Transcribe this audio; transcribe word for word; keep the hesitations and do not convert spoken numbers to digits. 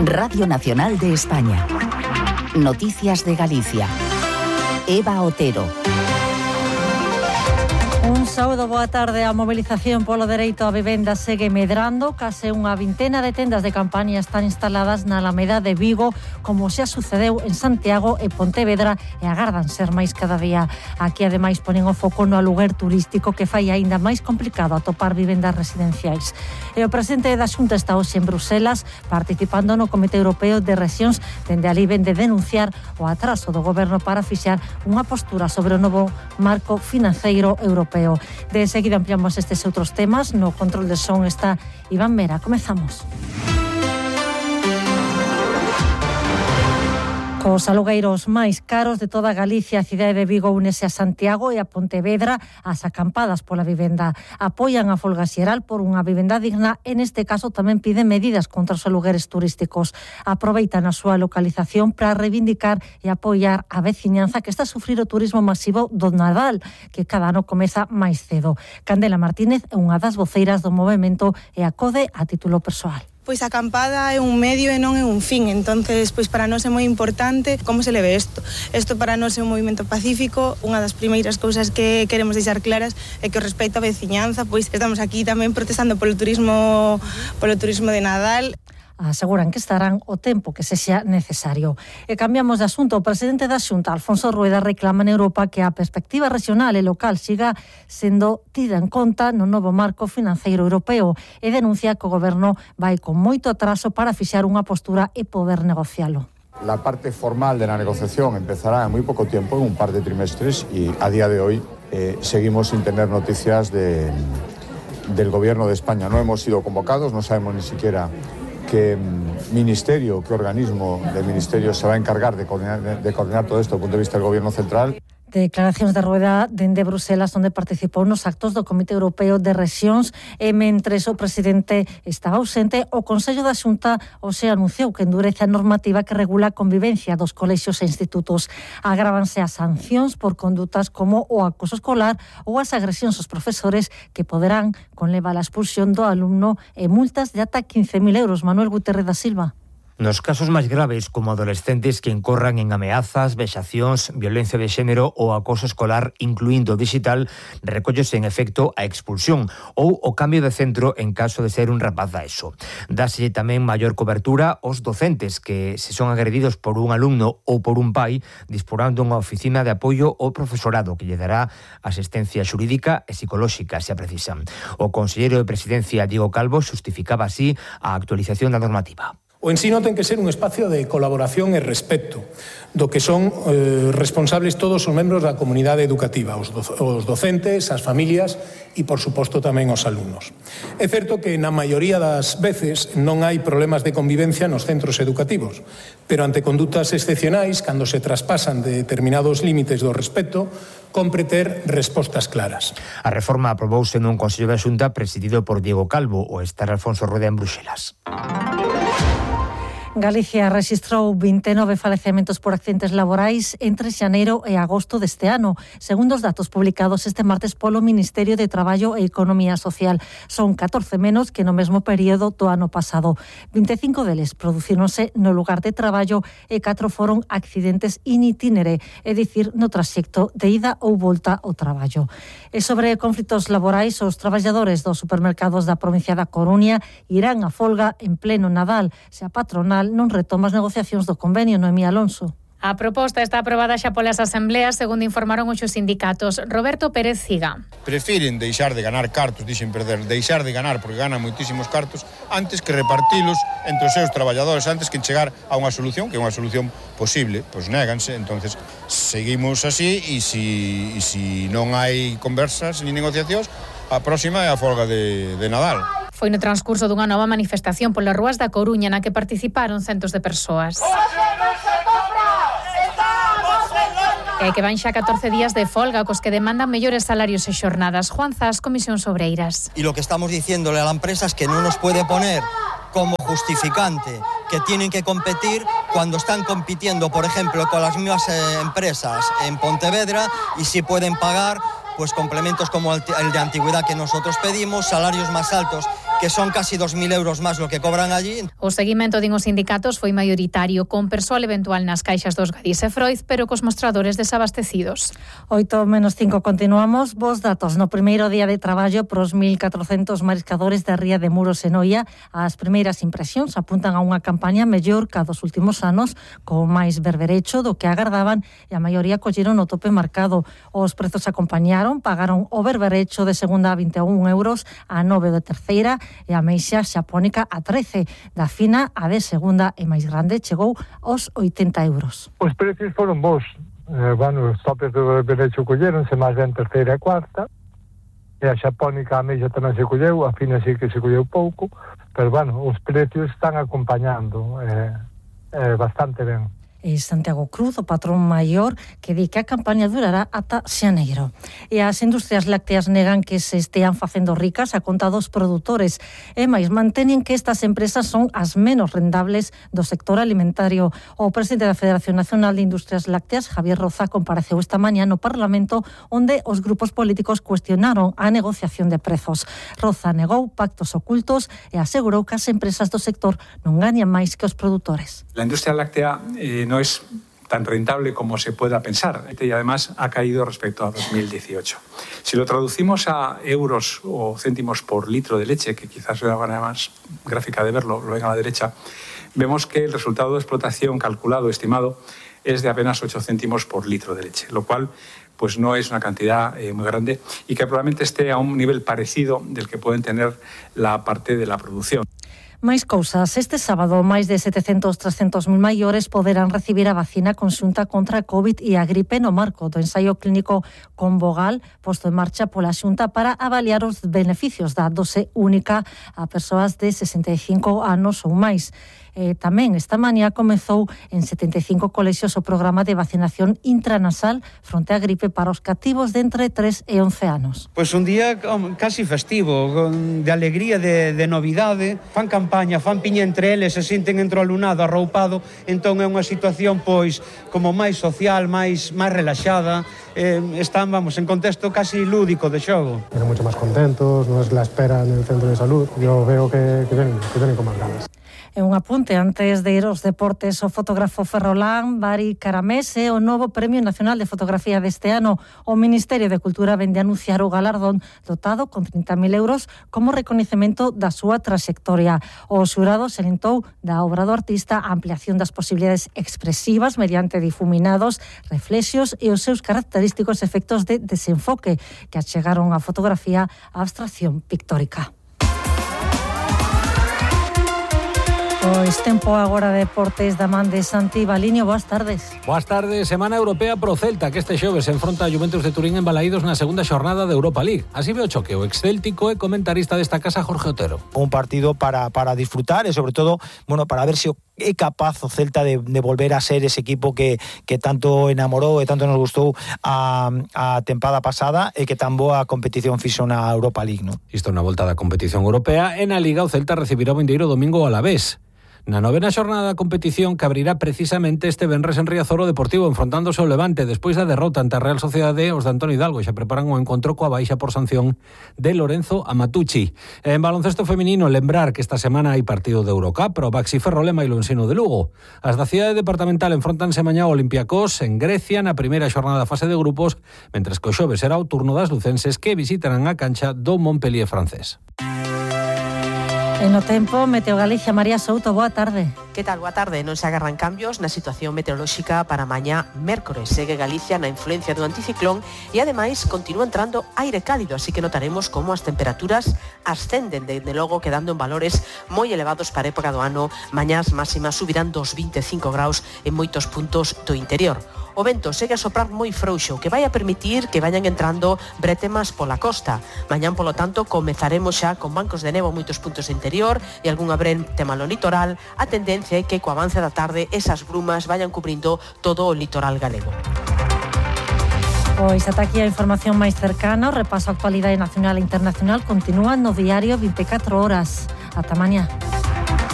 Radio Nacional de España. Noticias de Galicia. Eva Otero. Un sábado, boa tarde. A mobilización polo dereito á vivenda segue medrando. Case unha vintena de tendas de campaña están instaladas na Alameda de Vigo, como xa sucedeu en Santiago e Pontevedra, e agardan ser máis cada día. Aquí, ademais, ponen o foco no aluguer turístico, que fai aínda máis complicado atopar vivendas residenciais. E o presidente da Xunta está hoxe en Bruselas, participando no Comité Europeo de Rexións, dende ali ven de denunciar o atraso do goberno para fixar unha postura sobre o novo marco financeiro europeo. De seguida ampliamos estes outros temas. No control de son está Iván Mera. Comezamos. Cos alugueiros máis caros de toda Galicia, a cidade de Vigo únese a Santiago e a Pontevedra ás acampadas pola vivenda. Apoian a folga xeral por unha vivenda digna e neste caso tamén piden medidas contra os alugueres turísticos. Aproveitan a súa localización para reivindicar e apoiar a veciñanza que está a sufrir o turismo masivo do Nadal, que cada ano comeza máis cedo. Candela Martínez é unha das voceiras do movemento e acode a título persoal. Pois a acampada é un medio e non é un fin, entonces pois para nós é moi importante como se leve isto. Isto para nós é un movimento pacífico. Unha das primeiras cousas que queremos deixar claras é que o respecto á veciñanza, pois estamos aquí tamén protestando polo turismo, polo turismo de Nadal. Aseguran que estarán o tempo que sexa necesario. E cambiamos de asunto. O presidente da Xunta, Alfonso Rueda, reclama en Europa que a perspectiva regional e local siga sendo tida en conta no novo marco financeiro europeo e denuncia que o goberno vai con moito atraso para fixar unha postura e poder negocialo. La parte formal de la negociación empezará en muy poco tiempo, en un par de trimestres, y a día de hoy eh, seguimos sin tener noticias de, del gobierno de España. No hemos sido convocados, no sabemos ni siquiera qué ministerio, qué organismo de ministerio se va a encargar de coordinar, de coordinar todo esto desde el punto de vista del gobierno central. Declaracións de Rueda dende Bruselas, onde participou nos actos do Comité Europeo de Rexións, e mentres o presidente estaba ausente, o Consello da Xunta hoxe anunciou que endurece a normativa que regula a convivencia dos colexios e institutos. Agrávanse as sancións por condutas como o acoso escolar ou as agresións aos profesores, que poderán conlevar a expulsión do alumno e multas de ata quince mil euros. Manuel Guterres da Silva. Nos casos máis graves, como adolescentes que incorran en ameazas, vexacións, violencia de xénero ou acoso escolar, incluindo digital, recóllese en efecto a expulsión ou o cambio de centro en caso de ser un rapaz da ESO. Dáselle tamén maior cobertura aos docentes que, se son agredidos por un alumno ou por un pai, disporán dunha oficina de apoio ao profesorado que lle dará asistencia xurídica e psicolóxica, se a precisan. O conselleiro de Presidencia, Diego Calvo, xustificaba así a actualización da normativa. O ensino ten que ser un espacio de colaboración e respecto, do que son eh, responsables todos os membros da comunidade educativa, os, do, os docentes, as familias e, por suposto, tamén os alumnos. É certo que na maioría das veces non hai problemas de convivencia nos centros educativos, pero ante condutas excepcionais, cando se traspasan de determinados límites do respecto, compre ter respostas claras. A reforma aprobouse nun Consello da Xunta presidido por Diego Calvo, o estar Alfonso Rueda en Bruxelas. Galicia rexistrou vinte e nove falecementos por accidentes laborais entre xaneiro e agosto deste ano, segundo os datos publicados este martes polo Ministerio de Traballo e Economía Social. Son catorce menos que no mesmo período do ano pasado. vinte e cinco deles producíronse no lugar de traballo e catro foron accidentes in itinere, é dicir, no traxecto de ida ou volta ao traballo. E sobre conflitos laborais, os traballadores dos supermercados da provincia da Coruña irán a folga en pleno Nadal, se a patronal non retoma as negociacións do convenio. Noemí Alonso. A proposta está aprobada xa polas asembleas, segundo informaron os sindicatos. Roberto Pérez Ciga. Prefiren deixar de ganar cartos, dixen perder, deixar de ganar porque ganan moitísimos cartos, antes que repartilos entre os seus traballadores, antes que chegar a unha solución, que é unha solución posible, pois néganse. Entonces seguimos así, e si, e si non hai conversas ni negociacións, a próxima é a folga de, de Nadal. Foi no transcurso dunha nova manifestación polas rúas da Coruña na que participaron centos de persoas. E que van xa catorce días de folga, cos que demandan mellores salarios e xornadas. Juan Zas, Comisión Obreiras. Y lo que estamos diciéndole a la empresa es que no nos puede poner como justificante que tienen que competir cuando están compitiendo, por ejemplo, con las mismas eh, empresas en Pontevedra, y si pueden pagar pues complementos como el de antigüedad que nosotros pedimos, salarios más altos que son casi dos mil euros máis lo que cobran allí. O seguimento din os sindicatos foi maioritario, con persoal eventual nas caixas dos Gadis e Freud, pero cos mostradores desabastecidos. oito menos cinco continuamos. Vos datos no primeiro día de traballo pros mil catrocentos mariscadores da ría de Muros e Noia. As primeiras impresións apuntan a unha campaña mellor que a dos últimos anos, con máis berberecho do que agardaban, e a maioría colleron o tope marcado. Os prezos acompañaron, pagaron o berberecho de segunda a vinte e un euros, a nove de terceira e a meixa xapónica a trece. Da fina a de segunda e máis grande chegou aos oitenta euros. Os precios foron bons. Eh, bueno, os topes do berberecho colleronse máis ben terceira e cuarta, e a xapónica a meixa tamén se colleu, a fina sí que se colleu pouco, pero bueno, os precios están acompañando eh, eh, bastante ben. E Santiago Cruz, o patrón maior, que di que a campaña durará ata xaneiro. E as industrias lácteas negan que se estean facendo ricas a conta dos produtores, e máis mantenen que estas empresas son as menos rendables do sector alimentario. O presidente da Federación Nacional de Industrias Lácteas, Javier Roza, compareceu esta mañá no Parlamento, onde os grupos políticos cuestionaron a negociación de prezos. Roza negou pactos ocultos e asegurou que as empresas do sector non gañan máis que os produtores. La industria láctea eh, no es tan rentable como se pueda pensar y además ha caído respecto a dos mil dieciocho. Si lo traducimos a euros o céntimos por litro de leche, que quizás es la manera más gráfica de verlo, lo ven a la derecha, vemos que el resultado de explotación calculado, estimado, es de apenas ocho céntimos por litro de leche, lo cual pues no es una cantidad eh, muy grande y que probablemente esté a un nivel parecido del que pueden tener la parte de la producción. Máis cousas. Este sábado, máis de setecentos, trescentos mil maiores poderán recibir a vacina conxunta contra a COVID e a gripe no marco do ensaio clínico Convogal, posto en marcha pola Xunta para avaliar os beneficios da dose única a persoas de sesenta e cinco anos ou máis. Eh, tamén esta mañá comezou en setenta e cinco colexios o programa de vacinación intranasal fronte á gripe para os cativos de entre tres e once anos. Pois un día casi festivo, de alegría, de, de novidade. Fan campaña, fan piña entre eles, se sinten entre o alumnado arroupado, entón é unha situación pois como máis social, máis máis relaxada. Eh, están, vamos, en contexto casi lúdico de xogo. Están mucho máis contentos, non es la espera en el centro de salud. Yo veo que, que, ven, que vienen con máis ganas. E un apunte antes de ir aos deportes, o fotógrafo ferrolán Bari Caramés é o novo Premio Nacional de Fotografía deste ano. O Ministerio de Cultura vende a anunciar o galardón dotado con trinta mil euros como recoñecemento da súa traxectoria. O xurado salientou da obra do artista a ampliación das posibilidades expresivas mediante difuminados, reflexios e os seus característicos efectos de desenfoque que achegaron a fotografía á abstracción pictórica. Pois tempo agora de deportes da man de Santi Baliño. Boas tardes. Boas tardes. Semana europea pro Celta, que este xoves se enfronta a Juventus de Turín en Balaídos na segunda xornada de Europa League. Así ve o choque o excéltico e comentarista desta casa, Jorge Otero. Un partido para, para disfrutar e sobre todo, bueno, para ver se o é capaz o Celta de, de volver a ser ese equipo que, que tanto enamorou e tanto nos gustou a, a tempada pasada e que tan boa competición fixo na Europa League, non? Isto na volta da competición europea e na Liga o Celta recibirá o vindeiro domingo ao Alavés. Na novena xornada da competición que abrirá precisamente este venres en Riazor o Deportivo enfrontándose ao Levante despois da derrota ante a Real Sociedade. Os de Antonio Hidalgo xa preparan o encontro coa baixa por sanción de Lorenzo Amatucci. En baloncesto feminino, lembrar que esta semana hai partido de Eurocup pro Baxi Ferrolema e o Ensino de Lugo. As da cidade departamental enfrontanse mañá ao Olympiacos en Grecia na primeira xornada da fase de grupos, mentres que o xoves será o turno das lucenses que visitarán a cancha do Montpellier francés. En o tempo, Meteo Galicia, María Souto, boa tarde. Que tal? Boa tarde. Non se agarran cambios na situación meteorolóxica para mañá mércores. Segue Galicia na influencia do anticiclón e ademais continúa entrando aire cálido, así que notaremos como as temperaturas ascenden, desde logo quedando en valores moi elevados para a época do ano. Mañás máximas subirán dos vinte e cinco graus en moitos puntos do interior. O vento segue a soprar moi frouxo, que vai a permitir que vayan entrando bretemas pola costa. Mañán, polo tanto, comezaremos xa con bancos de nevo en moitos puntos do interior e algunha brete malo litoral. A tendencia é que co avance da tarde esas brumas vayan cubrindo todo o litoral galego. Pois ata aquí a información máis cercana. O repaso a actualidade nacional e internacional continúa no diario vinte e catro horas. Ata mañá.